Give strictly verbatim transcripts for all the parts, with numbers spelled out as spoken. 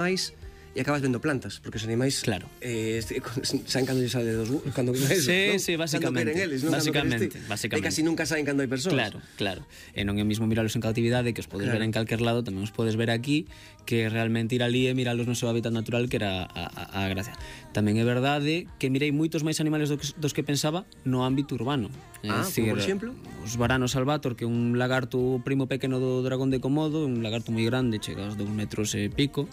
máis e acabas vendo plantas, porque os animais claro. eh, saen cando lles sale dos cando eso, sí, ¿no? sí, básicamente, eles, non básicamente, E básicamente. casi nunca saen cando hai persoas. Claro, claro. E non é mismo miralos en cautividade, que os podes claro. ver en calquer lado, tamén os podes ver aquí, que realmente ir ali e miralos no seu hábitat natural, que era a, a, a gracia. Tamén é verdade que mirei moitos máis animales do que, dos que pensaba no ámbito urbano. Ah, decir, como por exemplo? Os varanos albator, que é un lagarto primo pequeno do dragón de Komodo, un lagarto moi grande, chega aos dous metros e pico,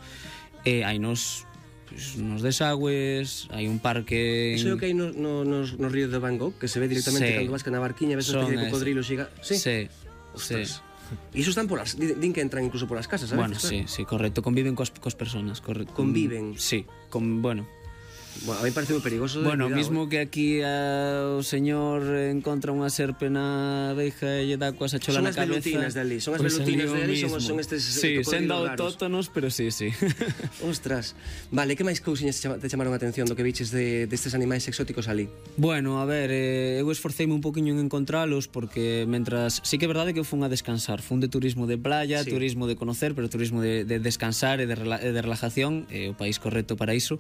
e hai nos pues, nos desagües, hai un parque... Iso é o que hai no, no, nos, nos ríos de Van Gogh, que se ve directamente sí. cando vas ca na barquiña, ves unha especie de cocodrilo xiga... Sí, sí. Ostras. Sí. E iso están polas... Din que entran incluso polas casas, sabes? Bueno, sí, sí, correcto. Conviven coas, coas personas, correcto. Conviven? Sí, con, bueno... Bueno, a mí parece moi perigoso. Bueno, cuidado, mismo eh. que aquí uh, o señor encontra unha serpe na reixa e lle dá coas a chola na cabeza. Son as velutinas de ali, son as pues velutinas de ali, son, son estes sí, sendo autóctonos, pero sí, sí. Ostras. Vale, que máis cousiñas te chamaron a atención do que viches de, destes animais exóticos ali? Bueno, a ver, eh, eu esforceime un poquinho en encontralos, porque mentras... Sí que é verdade que eu fun a descansar, fun de turismo de playa, sí. turismo de conocer, pero turismo de, de descansar e de, rela, de relajación, é o país correcto para iso,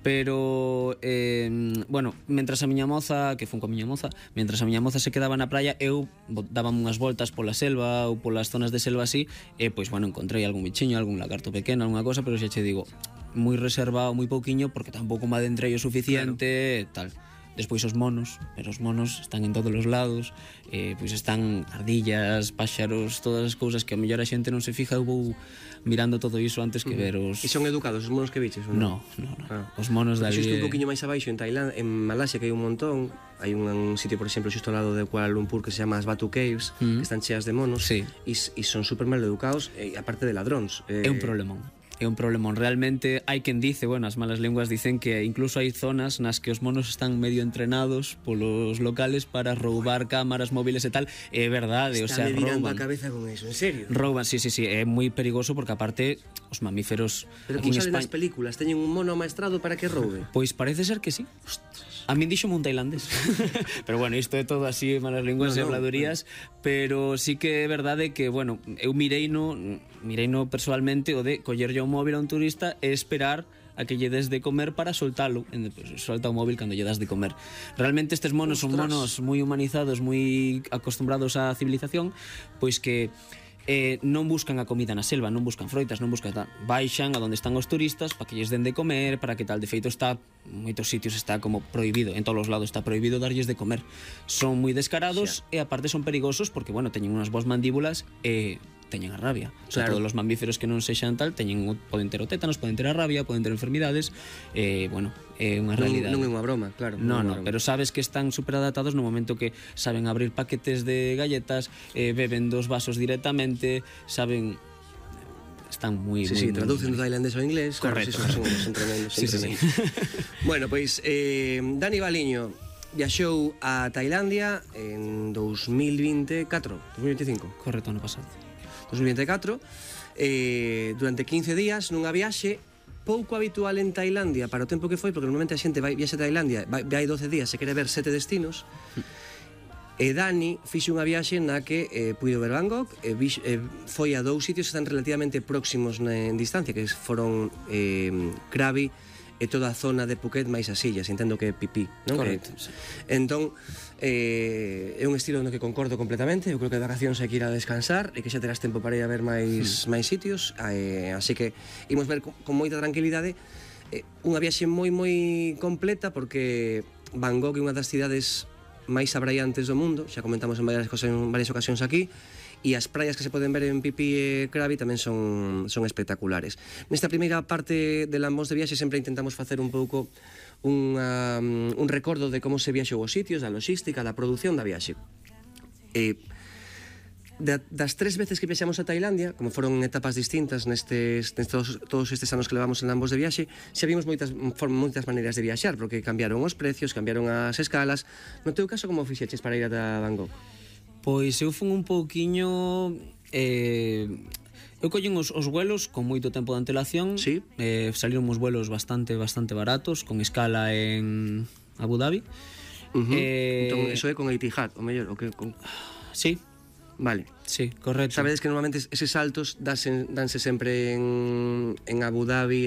pero eh, bueno, mentras a miña moza, que fun coa miña moza, mentras a miña moza se quedaba na praia, eu daba unhas voltas pola selva ou polas zonas de selva así, e pois bueno, encontrei algún bichiño, algún lagarto pequeno, algunha cosa, pero xa che digo, moi reservado, moi pouquiño, porque tampouco me adentrei o suficiente, claro. Tal. Despois os monos, pero os monos están en todos os lados, eh, pois están ardillas, páxaros, todas as cousas que a mellor a xente non se fija. Eu vou mirando todo iso antes que ver os... E son educados os monos que viches? Non, non, non. Ah. Os monos dali... Xusto un poquinho máis abaixo en Tailandia, en Malasia, que hai un montón, hai un, un sitio, por exemplo, xusto ao lado de Kuala Lumpur, que se chama as Batu Caves, mm. que están cheas de monos, sí. e, e son super mal educados, e aparte de ladróns. Eh... É un problemón. É un problemón. Realmente hai quen dice, bueno, as malas lenguas dicen que incluso hai zonas nas que os monos están medio entrenados polos locales para roubar cámaras móviles e tal. É verdade, está o sea, rouban. Está a cabeza con eso, en serio? Rouban, sí, sí, sí, é moi perigoso porque aparte os mamíferos... Pero como salen España... nas películas, teñen un mono amaestrado para que roube? Pois parece ser que sí. A min dixo un tailandés. Pero bueno, isto é todo así, malas linguas no, e habladurías, no. Pero sí que é verdade que, bueno, eu mirei no, mirei no personalmente o de collerlle o móvil a un turista e esperar a que lle des de comer para soltalo. Pues, solta o móvil cando lle das de comer. Realmente estes monos Ostras. son monos moi humanizados, moi acostumbrados á civilización, pois que eh, non buscan a comida na selva, non buscan froitas, non buscan tal. Baixan a donde están os turistas para que lles den de comer, para que tal. De feito está, en moitos sitios está como prohibido, en todos os lados está prohibido darlles de comer. Son moi descarados Xa. e aparte son perigosos porque, bueno, teñen unhas boas mandíbulas e teñen a rabia. O sea, claro. Todos os mamíferos que non sexan tal teñen, poden ter o tétanos, poden ter a rabia, poden ter enfermidades, e, eh, bueno, é unha realidade. Non, non é unha broma, claro. Non, non, no, pero sabes que están superadaptados no momento que saben abrir paquetes de galletas, eh, beben dos vasos directamente, saben... Están moi... Sí, sí, traducen do tailandés ao inglés. Correcto. Claro, sí, son, son tremendos, son sí, sí, tremendos. Sí. Bueno, pois, eh, Dani Baliño viaxou a Tailandia en dous mil vinte e catro, dous mil vinte e cinco. Correcto, ano pasado. dous mil vinte e catro, eh, durante quince días nunha viaxe pouco habitual en Tailandia para o tempo que foi, porque normalmente a xente vai viaxe a Tailandia, vai, vai doce días, se quere ver sete destinos. E Dani fixe unha viaxe na que eh, puido ver Van Gogh, e vix, eh, foi a dous sitios que están relativamente próximos na, en distancia, que foron eh, Krabi e toda a zona de Phuket máis as illas, entendo que é Phi Phi, non? Correcto, Que, sí. Entón, eh, é un estilo no que concordo completamente. Eu creo que de vacacións hai que ir a descansar e que xa terás tempo para ir a ver máis, mm. máis sitios, eh, así que imos ver con, con moita tranquilidade eh, unha viaxe moi moi completa, porque Van Gogh é unha das cidades máis abraiantes do mundo, xa comentamos en varias, cosas, en varias ocasións aquí, e as praias que se poden ver en Phi Phi e Krabi tamén son, son espectaculares. Nesta primeira parte de Lambóns de Viaxe sempre intentamos facer un pouco unha, un recordo de como se viaxou os sitios, da logística, da produción da viaxe. E de, das tres veces que viaxamos a Tailandia, como foron etapas distintas nestes, nestes todos estes anos que levamos en Lambóns de Viaxe, xa vimos moitas, moitas maneiras de viaxar, porque cambiaron os precios, cambiaron as escalas. No teu caso, como fixeches para ir a Van Gogh? Pois eu fun un pouquiño... Eh, eu collín os, os vuelos con moito tempo de antelación. Sí. Eh, saliron uns vuelos bastante bastante baratos, con escala en Abu Dhabi. Uh -huh. eh, entón, eso é con Etihad, o mellor, o que con... Sí. Vale. Sí, correcto. Sabedes que normalmente eses saltos danse, danse sempre en, en Abu Dhabi, en